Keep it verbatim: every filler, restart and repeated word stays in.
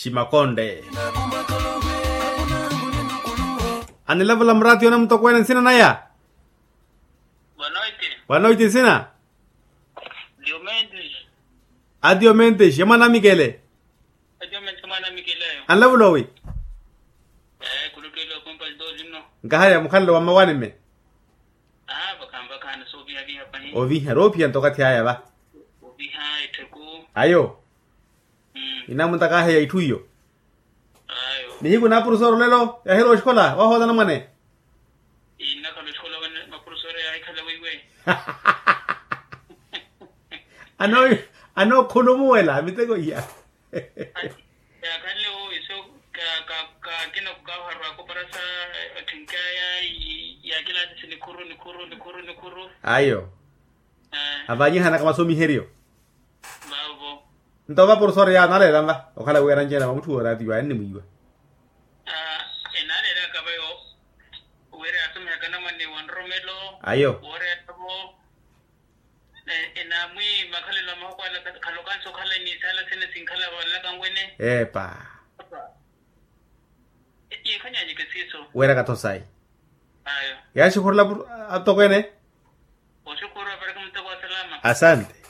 Ximakonde. Anilavula muraati yona mutokweene nsina naya? Wanoiti. Wanoiti nsina? Diomentis. A diomentis ya mwana amikele. A diomentis ya mwana amikele ayo. Anilavula owi? Ee kulutwele okompalito lino. Nkahaya mukhalelo wa mmawanime. Aa vakhanvakhana soovihaviha pahi. Oviha roophiya nto okathi aya va. Oviha etthuku. Ayo. Inamuntaka aheya itthu iyo. Nihiku na apurusooro lelo yahirowa oxikola wahoola anamwane. Innakhala oxikola wene mapurusooro yaahikhala weiwe. Anookhulumuwela miteko iya. Yaakhanle wo iso kakina kukaaharwaka oparasa atthenkaya. Yaakilaatisi nikhuru nikhuru nikhuru nikhuru. Ayo. Avanyihanaka masomiheryo. Vavo. Nto va porofesori yaani aleela nva okhala wiira nci ena va mutthu wooraatiwa ennimwiiwa. Enaaleelaka vayo wira yaasomihaka namwane wa nroromelo. Ayo. Wooreeravo. Enaamwi makhalelo a mahoko ala khalokansi okhala ni isaala sene sinkhala valelaka nwene. Epa. Yiikhanyanyeke siiso. Weeraka tho sayi. Ayo. Yaaxukhurela atokweene. Oxukhuru apareke muteko wa salama. Asante.